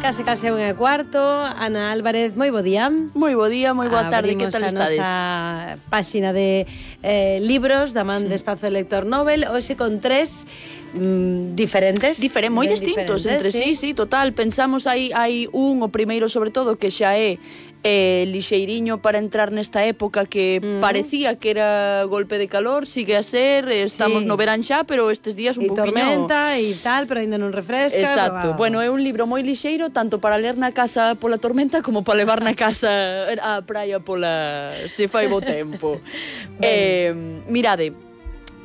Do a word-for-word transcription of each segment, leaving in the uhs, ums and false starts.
case case unha e cuarto. Ana Álvarez, moi bo día. Moi bo día, moi boa tarde, que tal estades? Abrimos a nosa páxina de eh, libros da man sí. de Espazo Lector Nobel, hoxe con tres mm, diferentes. Diferen, moi distintos entre sí, sí, sí, total. Pensamos hai, hai un, o primeiro sobre todo, que xa é eh, lixeiriño para entrar nesta época que mm. parecía que era golpe de calor, sigue a ser, estamos sí. no verán xa, pero estes días un e poquinho... tormenta e tal, pero ainda non refresca. Exacto, pero... bueno, é un libro moi lixeiro, tanto para ler na casa pola tormenta como para levar na casa á praia pola... se fai bo tempo. eh, mirade,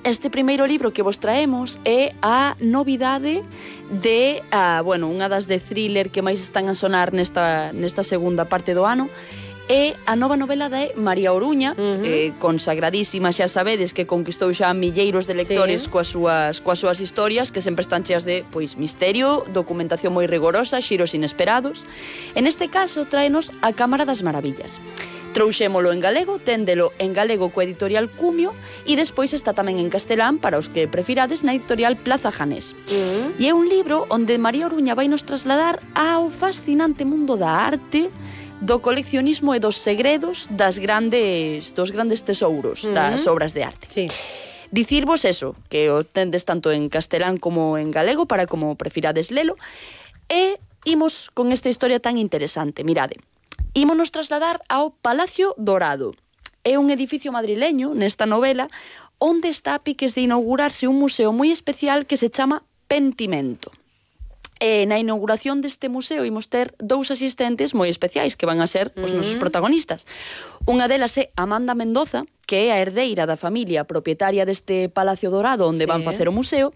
este primeiro libro que vos traemos é a novidade de, uh, bueno, unha das de thriller que máis están a sonar nesta, nesta segunda parte do ano, é a nova novela de María Oruña, uh -huh. eh, consagradísima, xa sabedes, que conquistou xa milleiros de lectores sí. coas súas coas súas historias, que sempre están cheas de, pois, misterio, documentación moi rigorosa, xiros inesperados. En este caso, tráenos A Cámara das Maravillas. Trouxémolo en galego, téndelo en galego coa editorial Cumio e despois está tamén en castelán para os que prefirades na editorial Plaza Janés. Mm. E é un libro onde María Oruña vai nos trasladar ao fascinante mundo da arte, do coleccionismo e dos segredos das grandes dos grandes tesouros mm. das obras de arte. Sí. Dicirvos eso, que o tendes tanto en castelán como en galego para como prefirades lelo, e imos con esta historia tan interesante. Mirade, ímonos trasladar ao Palacio Dorado. É un edificio madrileño, nesta novela, onde está a piques de inaugurarse un museo moi especial que se chama Pentimento. E na inauguración deste museo imos ter dous asistentes moi especiais que van a ser os nosos protagonistas. Unha delas é Amanda Mendoza, que é a herdeira da familia propietaria deste Palacio Dorado onde sí. van facer o museo.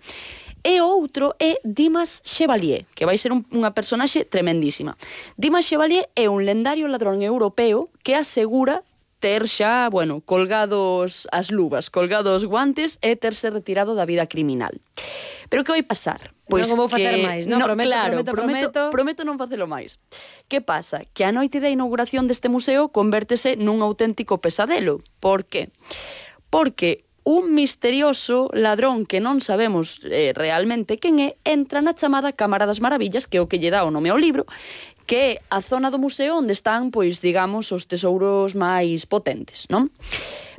E o outro é Dimas Chevalier, que vai ser un, unha personaxe tremendísima. Dimas Chevalier é un lendario ladrón europeo que asegura ter xa, bueno, colgados as luvas, colgados guantes e terse retirado da vida criminal. Pero que vai pasar? Pois non vou facer máis, non? No, prometo, claro, prometo, prometo, prometo. prometo non facelo máis. Que pasa? Que a noite da inauguración deste museo convértese nun auténtico pesadelo. Por qué? Porque un misterioso ladrón que non sabemos eh, realmente quen é, entra na chamada Cámara das Maravillas, que é o que lle dá o nome ao libro, que é a zona do museo onde están, pois, digamos, os tesouros máis potentes, non?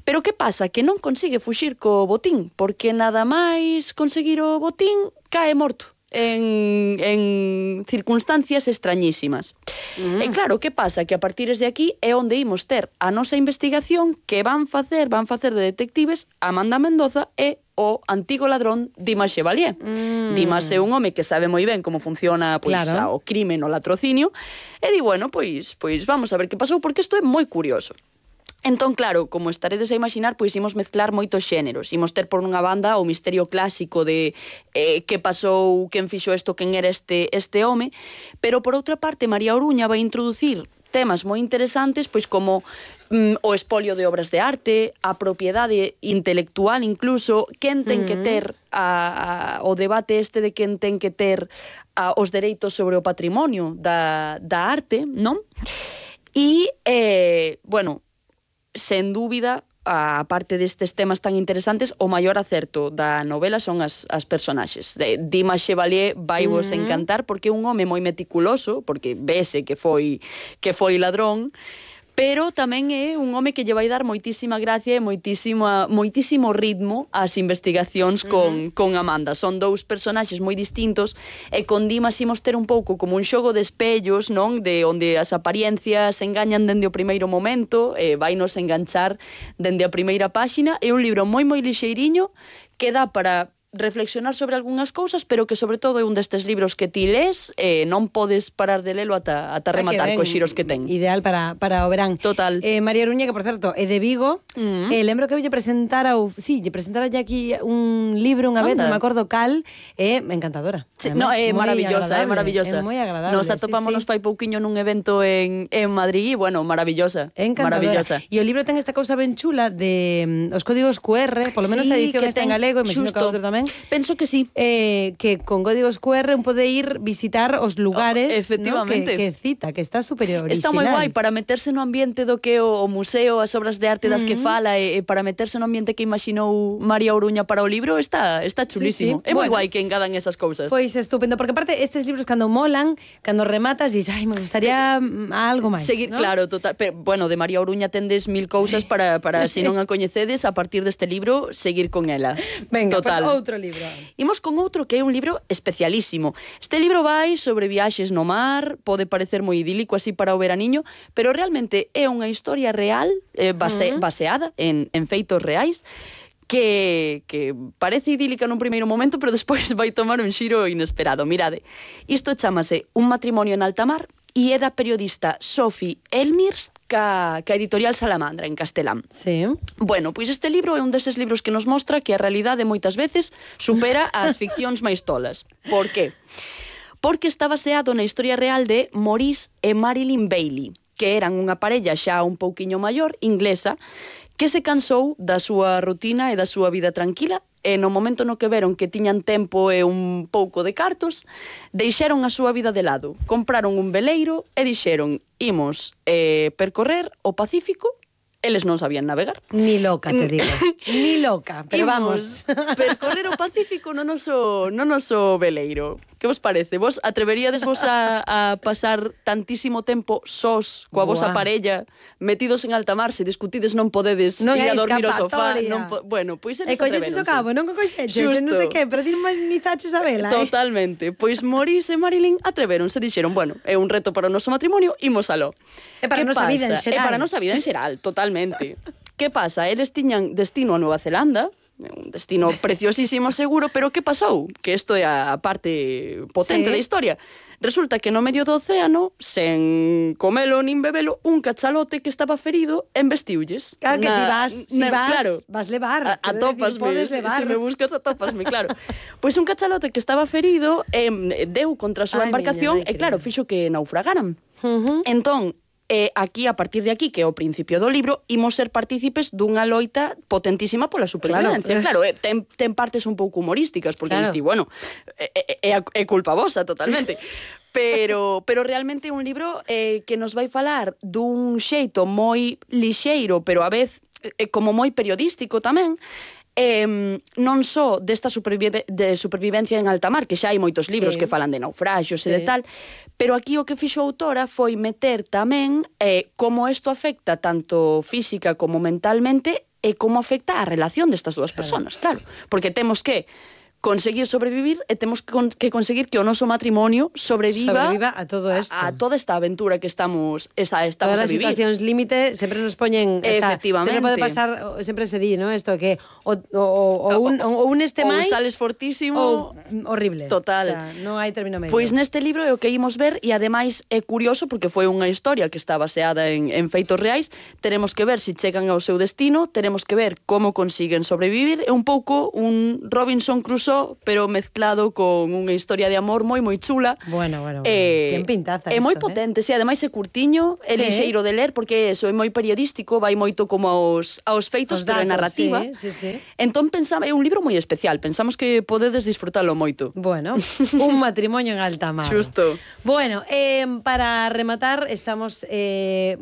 Pero que pasa? Que non consigue fuxir co botín, porque nada máis conseguir o botín cae morto. En, en circunstancias extrañísimas. Mm. E claro, que pasa? Que a partir de aquí é onde imos ter a nosa investigación que van facer, van facer de detectives Amanda Mendoza e o antigo ladrón Dimas Chevalier. Mm. Dimas é un home que sabe moi ben como funciona pois, claro. o crime no latrocinio e di, bueno, pois, pois vamos a ver que pasou, porque isto é moi curioso. Entón, claro, como estaredes a imaginar, pois imos mezclar moitos xéneros. Imos ter por unha banda o misterio clásico de eh, que pasou, quen fixo isto, quen era este, este home, pero por outra parte María Oruña vai introducir temas moi interesantes, pois como mm, o espolio de obras de arte, a propiedade intelectual incluso, quen ten que ter a, a, o debate este de quen ten que ter a, os dereitos sobre o patrimonio da, da arte, non? E, eh, bueno, sen dúbida, a parte destes temas tan interesantes, o maior acerto da novela son as, as personaxes. De Dimas Chevalier vai vos uh -huh. encantar porque é un home moi meticuloso, porque vese que foi que foi ladrón, pero tamén é un home que lle vai dar moitísima gracia e moitísima, moitísimo ritmo ás investigacións con, uh -huh. con Amanda. Son dous personaxes moi distintos e con Dimas imos ter un pouco como un xogo de espellos, non? De onde as apariencias engañan dende o primeiro momento, e vai nos enganchar dende a primeira páxina. É un libro moi moi lixeiriño que dá para reflexionar sobre algunhas cousas, pero que sobre todo é un destes libros que ti lees e eh, non podes parar de lelo ata, ata rematar cos xiros que ten. Ideal para, para o verán. Total. Eh, María Oruña, que por certo é de Vigo, uh -huh. eh, lembro que lle presentara ou, sí, lle presentara ya aquí un libro unha vez, non me acordo cal, é eh, encantadora. Sí, no, é maravillosa, é maravillosa. É moi agradable. Nos atopámonos sí, sí. fai pouquiño nun evento en, en Madrid e, bueno, maravillosa. Encantadora. Maravillosa. E o libro ten esta cousa ben chula de um, os códigos Q R, polo menos sí, a edición está en galego, e me xino que outro tamén. tamén? Penso que sí. Eh, que con códigos Q R un pode ir visitar os lugares, oh, efectivamente, ¿no? que, que cita, que está super original. Está moi guai para meterse no ambiente do que o, o museo, as obras de arte das uh-huh. que fala, e, e para meterse no ambiente que imaginou María Oruña para o libro, está, está chulísimo. Sí, sí. É moi bueno, guai que engadan esas cousas. Pois estupendo, porque aparte estes libros cando molan, cando rematas, dices, ai, me gustaría que, algo máis. Seguir, ¿no? Claro, total. Pero, bueno, de María Oruña tendes mil cousas sí. para, para se non a coñecedes, a partir deste libro, seguir con ela. Venga, total. Pues outro libro. Imos con outro que é un libro especialísimo. Este libro vai sobre viaxes no mar, pode parecer moi idílico así para o veraniño, pero realmente é unha historia real, eh, base, uh-huh. baseada en, en feitos reais, que, que parece idílica nun primeiro momento, pero despois vai tomar un xiro inesperado. Mirade, isto chamase Un matrimonio en alta mar, e é da periodista Sophie Elmirs ca, ca editorial Salamandra, en castelán. Sí. Bueno, pois este libro é un deses libros que nos mostra que a realidade moitas veces supera as ficcións máis tolas. Por qué? Porque está baseado na historia real de Maurice e Marilyn Bailey, que eran unha parella xa un pouquiño maior, inglesa, que se cansou da súa rutina e da súa vida tranquila, e no momento no que veron que tiñan tempo e un pouco de cartos, deixaron a súa vida de lado, compraron un veleiro e dixeron, imos eh, percorrer o Pacífico. Eles non sabían navegar. Ni loca, te digo. Ni loca, pero imos vamos. Percorrer o Pacífico no noso, no noso veleiro. Que vos parece? Vos atreveríades vos a, a pasar tantísimo tempo sós coa vosa parella, metidos en alta mar, se discutides non podedes non ir a dormir ao sofá? Non po... Bueno, pois eles atreveronse. E colleches o cabo, non co colleches, non sei que, pero dinamizaches a vela, eh? Totalmente. Pois Maurice e Marilyn atreveronse, dixeron, bueno, é un reto para o noso matrimonio, imos aló. É para a nosa vida en xeral. É para a nosa vida en xeral, totalmente. Que pasa? Eles tiñan destino a Nova Zelanda, un destino preciosísimo seguro, pero que pasou? Que isto é a parte potente sí. da historia. Resulta que no medio do océano, sen comelo nin bebelo, un cachalote que estaba ferido embestiulles. Claro que na, si vas, si na, vas, claro, vas levar. A, atópasme, decir, levar. Se me buscas atópasme, claro. Pois pues un cachalote que estaba ferido eh, deu contra a súa Ay, embarcación miña, e claro, fixo que naufragaran. Uh-huh. Entón, E aquí, a partir de aquí, que é o principio do libro, imos ser partícipes dunha loita potentísima pola supervivencia. Claro, claro ten, ten partes un pouco humorísticas, porque claro. Diste, bueno, é, é, é culpa vosa totalmente. Pero, pero realmente é un libro eh, que nos vai falar dun xeito moi lixeiro, pero a vez eh, como moi periodístico tamén, Eh, non só desta supervive, de supervivencia en alta mar, que xa hai moitos libros sí. que falan de naufragios sí. e de tal, pero aquí o que fixo a autora foi meter tamén eh, como isto afecta tanto física como mentalmente e como afecta a relación destas dúas claro. personas, claro, porque temos que conseguir sobrevivir e temos que, con, que conseguir que o noso matrimonio sobreviva, sobreviva a todo isto. A, a toda esta aventura que estamos, esta, estamos Todas a vivir. Todas as situacións límite sempre nos poñen... Efectivamente. O sea, sempre pode pasar, sempre se di, ¿no? Esto que o, o, o, un, o un este máis... Ou sales fortísimo... Ou horrible. Total. O sea, non hai término medio. Pois neste libro é o que imos ver e ademais é curioso porque foi unha historia que está baseada en, en feitos reais. Teremos que ver se si chegan ao seu destino, teremos que ver como consiguen sobrevivir. É un pouco un Robinson Crusoe, pero mezclado con unha historia de amor moi moi chula. Bueno, bueno, bueno. Eh, ten pintaza é isto, moi eh? potente, sí, ademais é curtiño, é sí. lixeiro de ler porque eso é moi periodístico, vai moito como aos aos feitos, os pero datos, é narrativa. Sí, sí, sí. Entón pensaba, é un libro moi especial, pensamos que podedes disfrutalo moito. Bueno, un matrimonio en alta mar. Xusto. Bueno, eh, para rematar estamos eh,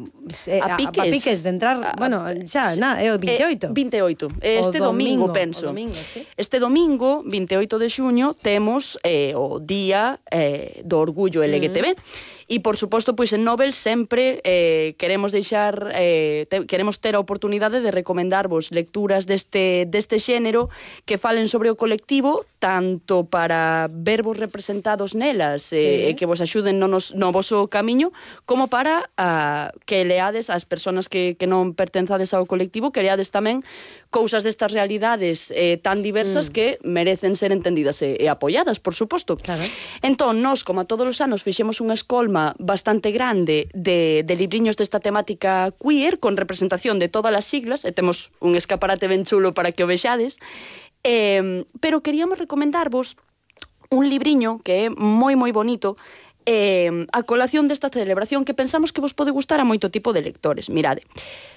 a, piques. a, a piques de entrar, a, bueno, xa, na, é o vinte e oito. Eh, vinte e oito. Este o domingo, domingo penso. Domingo, sí. Este domingo, vinte e oito de xuño, temos eh, o Día eh, do Orgullo L G T B. Uh-huh. E, por suposto, pois en Nobel sempre eh, queremos deixar, eh, te, queremos ter a oportunidade de recomendarvos lecturas deste, deste xénero que falen sobre o colectivo, tanto para vervos representados nelas e eh, sí. que vos axuden no, nos, no voso camiño, como para uh, que leades as persoas que, que non pertenzades ao colectivo, que leades tamén cousas destas realidades eh, tan diversas mm. que merecen ser entendidas e, e apoiadas, por suposto. Claro. Entón, nós, como a todos os anos, fixemos unha escolma bastante grande de, de libriños desta temática queer, con representación de todas as siglas, e temos un escaparate ben chulo para que o vexades, eh, pero queríamos recomendarvos un libriño que é moi moi bonito, eh, a colación desta celebración que pensamos que vos pode gustar a moito tipo de lectores. Mirade,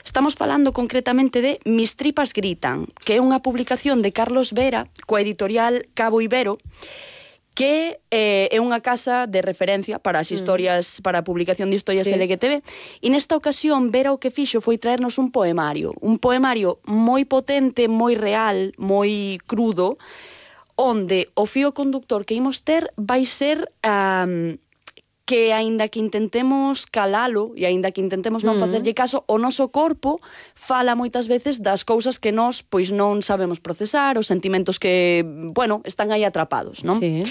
estamos falando concretamente de Mis tripas gritan, que é unha publicación de Carlos Vera, coa editorial Cabo Ibero, que eh, é unha casa de referencia para as historias, mm. para a publicación de historias sí. L G T B, e nesta ocasión Vera o que fixo foi traernos un poemario, un poemario moi potente, moi real, moi crudo, onde o fío conductor que imos ter vai ser um, que aínda que intentemos calalo e aínda que intentemos non facerlle caso, o noso corpo fala moitas veces das cousas que nós pois non sabemos procesar, os sentimentos que, bueno, están aí atrapados, non? Sí.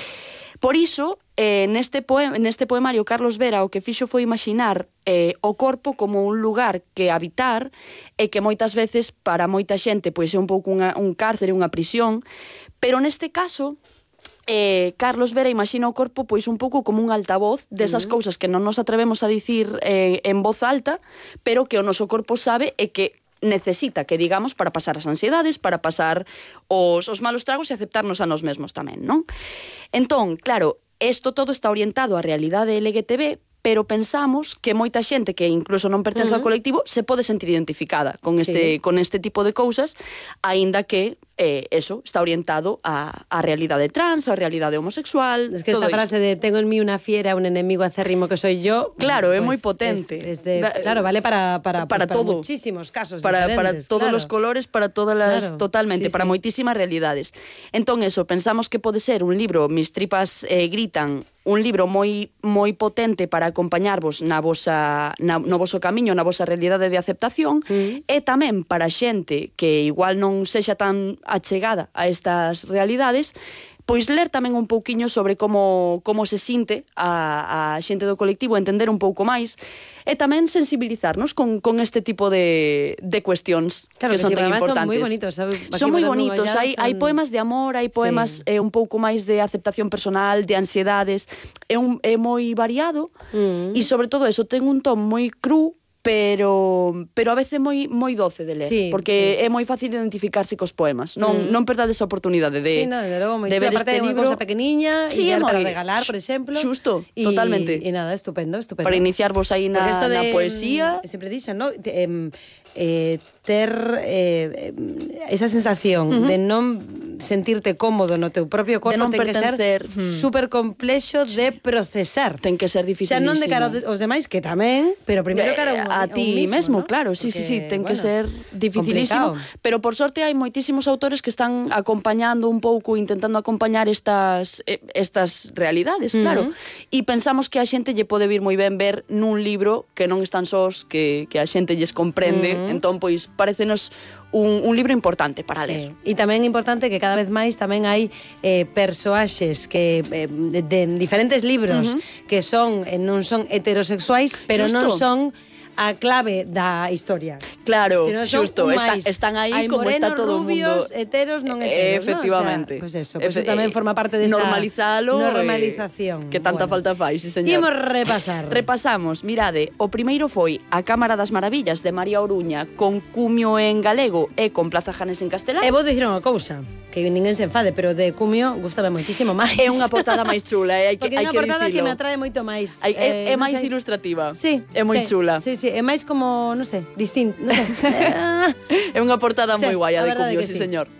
Por iso, eh, neste, poema, neste poemario, Carlos Vera o que fixo foi imaginar eh, o corpo como un lugar que habitar e que moitas veces para moita xente pois é un pouco unha, un cárcere, unha prisión, pero neste caso Eh, Carlos Vera imagina o corpo pois un pouco como un altavoz desas uh -huh. cousas que non nos atrevemos a dicir eh, en voz alta, pero que o noso corpo sabe e que necesita que digamos para pasar as ansiedades, para pasar os, os malos tragos e aceptarnos a nós mesmos tamén, non? Entón, claro, isto todo está orientado á realidade L G T B, pero pensamos que moita xente que incluso non pertence uh -huh. ao colectivo se pode sentir identificada con este, sí. con este tipo de cousas, aínda que eh, eso está orientado á, á realidade trans, á realidade homosexual. Es que esta frase de tengo en mí una fiera, un enemigo acérrimo que soy yo, claro, pues é moi potente. Es, es de, claro, vale para, para, para, pues, para todo. muchísimos casos para, diferentes. Para todos claro. os colores, para todas las, claro. totalmente, sí, para sí. moitísimas realidades. Entón, eso, pensamos que pode ser un libro, Mis tripas eh, gritan, un libro moi moi potente para acompañarvos na vosa, na, no voso camiño, na vosa realidade de aceptación, mm. e tamén para xente que igual non sexa tan achegada a estas realidades, pois ler tamén un pouquiño sobre como, como se sinte a, a xente do colectivo, entender un pouco máis, e tamén sensibilizarnos con, con este tipo de, de cuestións claro, que, que son sí, tan importantes. Son moi bonitos, sabe? Son moi bonitos, hai, son... hai poemas de amor, hai poemas sí. eh, un pouco máis de aceptación personal, de ansiedades, é, un, é moi variado, mm. e sobre todo eso, ten un ton moi cru, pero pero a veces moi moi doce de ler, sí, porque sí. é moi fácil identificarse cos poemas. Non mm. non perdades a oportunidade de sí, no, de, logo, de ver este libro, unha cousa pequeniña sí, e moi... para regalar, por exemplo. Xusto, y, totalmente. E nada, estupendo, estupendo. Para iniciarvos aí na, de, na poesía. Sempre dixen, ¿no? Eh, eh, ter eh, esa sensación uh -huh. de non sentirte cómodo no teu propio corpo, ten pertencer. que ser hmm. super complexo de procesar. Ten que ser dificilísimo. Xa non de cara aos demais, que tamén, pero primeiro cara a, a, a ti mismo, mesmo, ¿no? claro, sí, Porque, sí, sí, ten bueno, que ser dificilísimo, complicado. Pero por sorte hai moitísimos autores que están acompañando un pouco, intentando acompañar estas estas realidades, uh -huh. claro. E pensamos que a xente lle pode vir moi ben ver nun libro que non están sós, que, que a xente lles comprende, uh -huh. entón, pois, parecenos un, un libro importante para sí. ler. E tamén importante que cada vez máis tamén hai eh, persoaxes que eh, de, de diferentes libros uh -huh. que son eh, non son heterosexuais, pero Justo. non son a clave da historia. Claro, xusto, están, están aí hai como morenos, está todo o mundo. rubios, heteros, non heteros, efectivamente. ¿no? O sea, pues eso, pues eso tamén forma parte desa normalizalo, normalización. Eh, que tanta bueno. falta fai, sí, señor. Imos repasar. Repasamos, mirade, o primeiro foi A Cámara das Maravillas de María Oruña, con cumio en galego e con Plaza Janes en castelán. E vou dicir unha cousa, que ninguén se enfade, pero de cumio gustame moitísimo máis. É unha portada máis chula, eh, hai que, hai que dicilo. Porque é unha portada que me atrae moito máis. Hai, eh, é é máis sei. ilustrativa. Sí. É moi sí, chula. Sí, sí, é máis como, non sei, distinto, non sei. É unha portada sí, moi guai a de cumio, sí, sí, señor.